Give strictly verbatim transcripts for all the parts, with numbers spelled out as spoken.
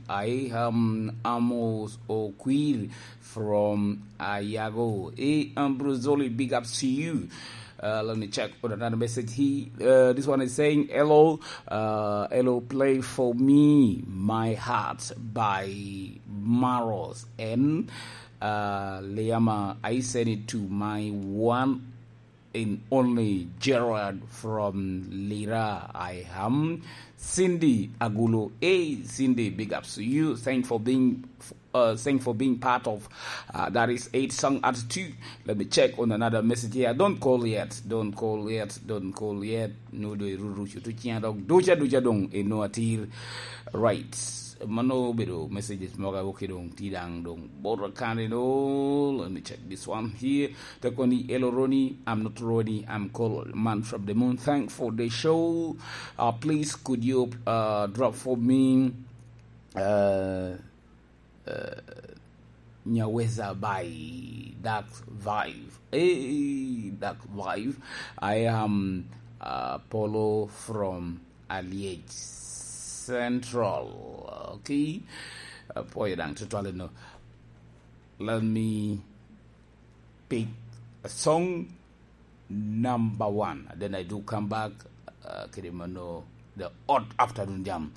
I am Amos Okwir from Ayago. Hey, Ambrosoli, big ups to you. Uh, let me check on another message here. Uh, this one is saying, "Hello, uh, hello, play for me My Heart by Maros and uh, Liama. I send it to my one and only Gerard from Lira. I am Cindy Agulo." Hey, Cindy, big ups to you. Thanks for being uh, thanks for being part of uh, that is eight song at two. Let me check on another message here. Don't call yet. Don't call yet. Don't call yet. No do iruru chutu chiang dog ducha ducha dong eno atir. Right. Mano bedo messages moga woke dong ti dang dong boro kane no. Let me check this one here. Tekoni, "Hello Ronnie, I'm not Ronnie, I'm called Man from the Moon. Thanks for the show. Uh, please could you uh, drop for me uh, uh, Nyaweza by Dark Vibe?" Hey, Dark Vibe. I am uh, Polo from Aliej Central. Okay. Uh, boy, dang tutwale no. Let me pick a song number one. And then I do come back. Uh, kede mano, the odd afternoon jam.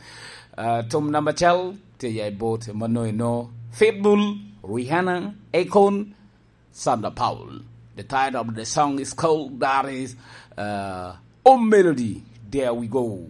Uh, tom number chal, te ya boat, mano eno. Pitbull, Rihanna, Akon, Sandra Paul. The title of the song is called, that is uh, Oh Melody. There we go.